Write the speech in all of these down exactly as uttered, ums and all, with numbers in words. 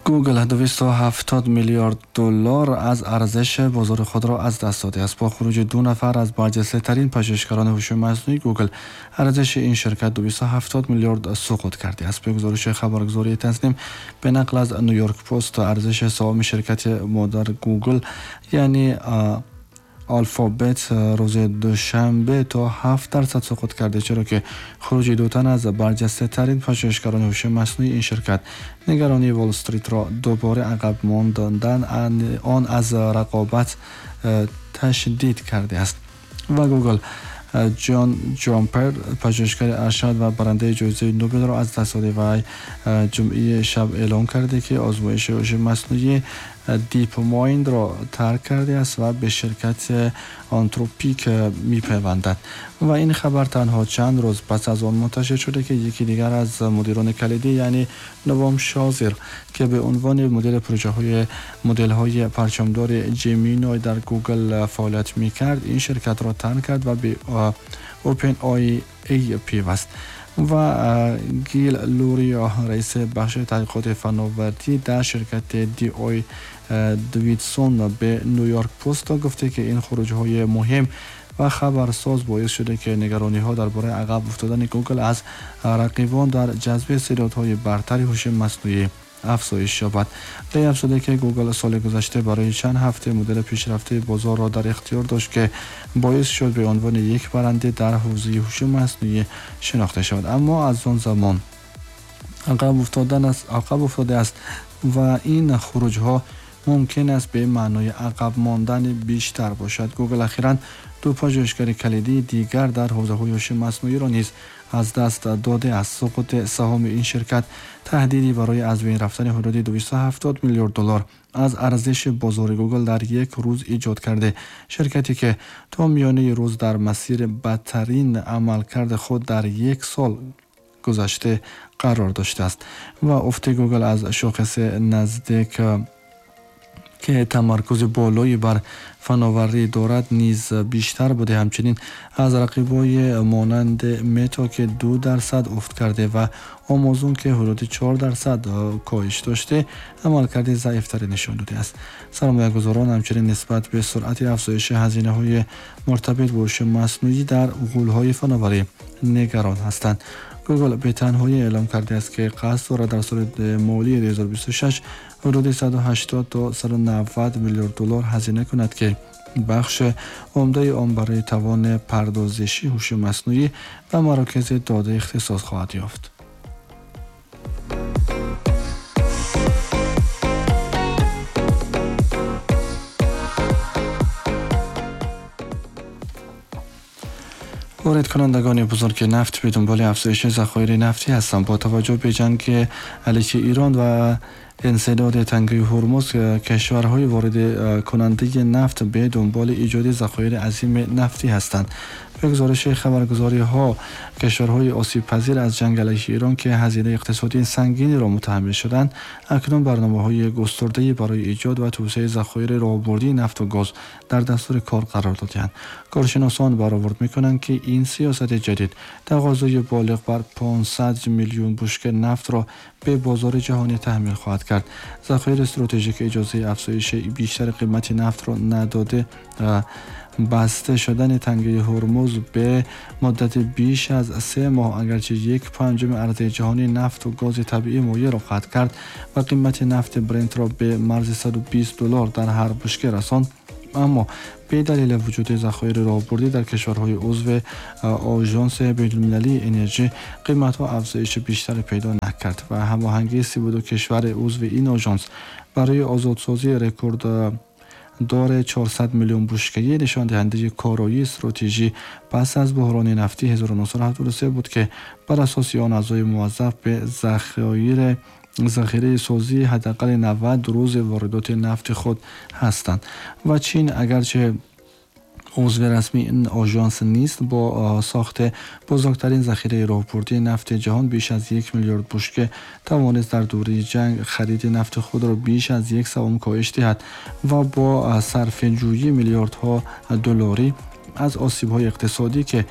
گوگل دویست و هفتاد میلیارد دلار از ارزش بازار خود را از دست داده است. با خروج دو نفر از برجسته‌ترین پژوهشگران هوش مصنوعی گوگل، ارزش این شرکت دویست و هفتاد میلیارد سقوط کرده است. به گزارش خبرگزاری تسنیم به نقل از نیویورک پست، ارزش سهام شرکت مادر گوگل یعنی آلفابت روز دوشنبه تا هفت درصد سقوط کرده، چرا که خروج دو تن از برجسته ترین پژوهشگران هوش مصنوعی این شرکت نگرانی وال استریت را دوباره عقب ماندن آن از رقابت تشدید کرده است. و گوگل جان جامپر پژوهشگر ارشد و برنده جایزه نوبل را از دست داده و جمعه شب اعلام کرده که آزمایش هوش مصنوعی دیپ مایند را ترک کرده است و به شرکت آنتروپیک میپیوندد. و این خبر تنها چند روز پس از آن منتشر شده که یکی دیگر از مدیران کلیدی یعنی نوام شازر که به عنوان مدیر پروژه های مدل های پرچمدار جمینای در گوگل فعالیت میکرد، این شرکت را ترک کرد و به اوپن آی ای پیوست. و گیل لوریا رئیس بخش تحقیقات فناوری در شرکت دی آی دویدسون به نیویورک پست گفته که این خروج های مهم و خبرساز باعث شده که نگرانی ها درباره عقب افتادن گوگل از رقیبان در جذب استعدادهای برتر هوش مصنوعی افزایش یابد. وی افزوده که گوگل سال گذشته برای چند هفته مدل پیشرفته بازار را در اختیار داشت که باعث شد به عنوان یک برنده در حوزه هوش مصنوعی شناخته شود، اما از آن زمان عقب افتادن است عقب افتاده است و این خروج ها ممکن است به معنای عقب ماندن بیشتر باشد. گوگل اخیراً دو پژوهشگر کلیدی دیگر در حوزه هوش مصنوعی را نیز از دست داده است. سقوط سهام این شرکت تهدیدی برای از بین رفتن حدود دویست و هفتاد میلیارد دلار از ارزش بازار گوگل در یک روز ایجاد کرده، شرکتی که تا میانه روز در مسیر بدترین عملکرد خود در یک سال گذشته قرار داشته است. و افت گوگل از شاخص نزدیک که تمرکز بالایی بر فناوری دارد نیز بیشتر بوده. همچنین از رقیبای مانند متا که دو درصد افت کرده و آمازون که حدود چهار درصد کاهش داشته، عملکرد ضعیف‌تری نشان داده است. سرمایه‌گذاران همچنین نسبت به سرعت افزایش هزینه‌های مرتبط با هوش مصنوعی در غول‌های فناوری نگران هستند. گوگل به تنهایی اعلام کرده است که قصد دارد در سال مالی دو هزار و بیست و شش حدود صد و هشتاد تا صد و نود میلیارد دلار هزینه کند که بخش عمده آن برای توان پردازشی هوش مصنوعی و مراکز داده اختصاص خواهد یافت. وارد کنندگان بزرگ نفت به دنبال افزایش ذخایر نفتی هستند. با توجه به جنگ علیه ایران و انسداد تنگه هرمز، کشورهای وارد کننده نفت به دنبال ایجاد ذخایر عظیم نفتی هستند. به گزارش خبرگزاری ها، کشورهای آسیب پذیر از جنگ علیه ایران که هزینه اقتصادی سنگینی را متحمل شدند، اکنون برنامه‌های گسترده‌ای برای ایجاد و توسعه ذخایر راهبردی نفت و گاز در دستور کار قرار دادند. کارشناسان برآورد می‌کنند که این سیاست جدید تقاضای بالغ بر پانصد میلیون بشکه نفت را به بازار جهانی تحمیل خواهد کرد. ذخایر استراتژیک اجازه افزایش بیشتر قیمت نفت را نداده. بسته شدن تنگه هرمز به مدت بیش از سه ماه اگرچه یک پنجم عرضه جهانی نفت و گاز طبیعی مایع را قطع کرد و قیمت نفت برنت را به مرز صد و بیست دلار در هر بشکه رساند، اما به دلیل وجود ذخایر راهبردی در کشورهای عضو آژانس بین‌المللی انرژی، قیمت‌ها افزایش بیشتر پیدا نکرد و هماهنگی سی و دو کشور عضو این آژانس برای آزادسازی رکورد دار چهارصد میلیون بشکه‌ای نشان دهنده کارایی استراتژی پس از بحران نفتی هزار و نهصد و هفتاد و سه بود که بر اساس آن اعضای موظف به ذخایر ذخیره سازی حداقل نود روز واردات نفت خود هستند. و چین اگرچه عضو رسمی این آژانس نیست، با ساخت بزرگترین ذخیره راهبردی نفت جهان بیش از یک میلیارد بشکه توانست در دوره جنگ خرید نفت خود را بیش از یک سوم کاهش دهد و با صرفه‌جویی میلیاردها دلاری از آسیب‌های اقتصادی که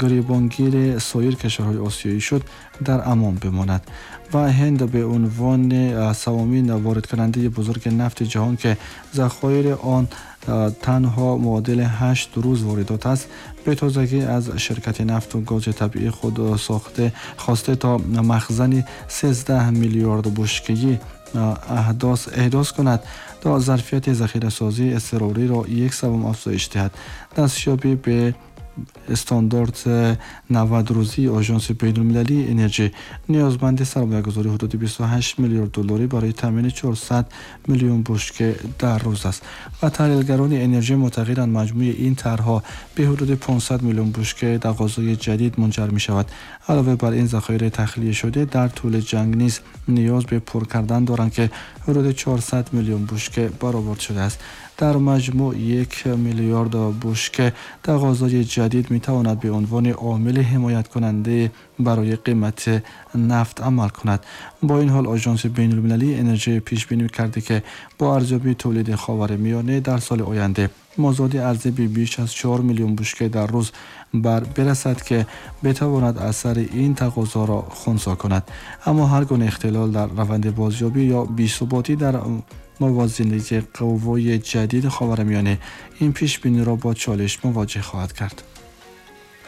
گریبانگیر سایر کشورهای آسیایی شد در امان بماند. و هند به عنوان سومین وارد کننده بزرگ نفت جهان که ذخایر آن تنها معادل هشت روز واردات است، به تازگی از شرکت نفت و گاز طبیعی خود ساخته خواسته تا مخزن سیزده میلیارد بشکه‌ای احداث احداث کند تا ظرفیت ذخیره سازی اضطراری را یک سوم افزایش دهد. دستیابی به استاندارد نود روزی آژانس بین‌المللی انرژی نیازمند سرمایه‌گذاری حدود بیست و هشت میلیارد دلاری برای تامین چهارصد میلیون بشکه در روز است و تحلیلگران انرژی معتقدند مجموع این طرح‌ها به حدود پانصد میلیون بشکه تقاضای جدید منجر می‌شود. علاوه بر این ذخایر تخلیه شده در طول جنگ نیز نیاز به پر کردن دارند که حدود چهارصد میلیون بشکه برآورد شده است. در مجموع یک میلیارد بشکه تقاضای جدید میتواند به عنوان عامل حمایت کننده برای قیمت نفت عمل کند. با این حال آژانس بین‌المللی انرژی پیش بینی کرده که با ارزیابی تولید خاورمیانه در سال آینده مازاد عرضه به بیش از چهار میلیون بشکه در روز بر برسد که بتواند اثر این تقاضا را خنثی کند. اما هر گونه اختلال در روند بازیابی یا بی‌ثباتی در موازنه قوای جدید خاورمیانه این پیش بینی را با چالش مواجه خواهد کرد.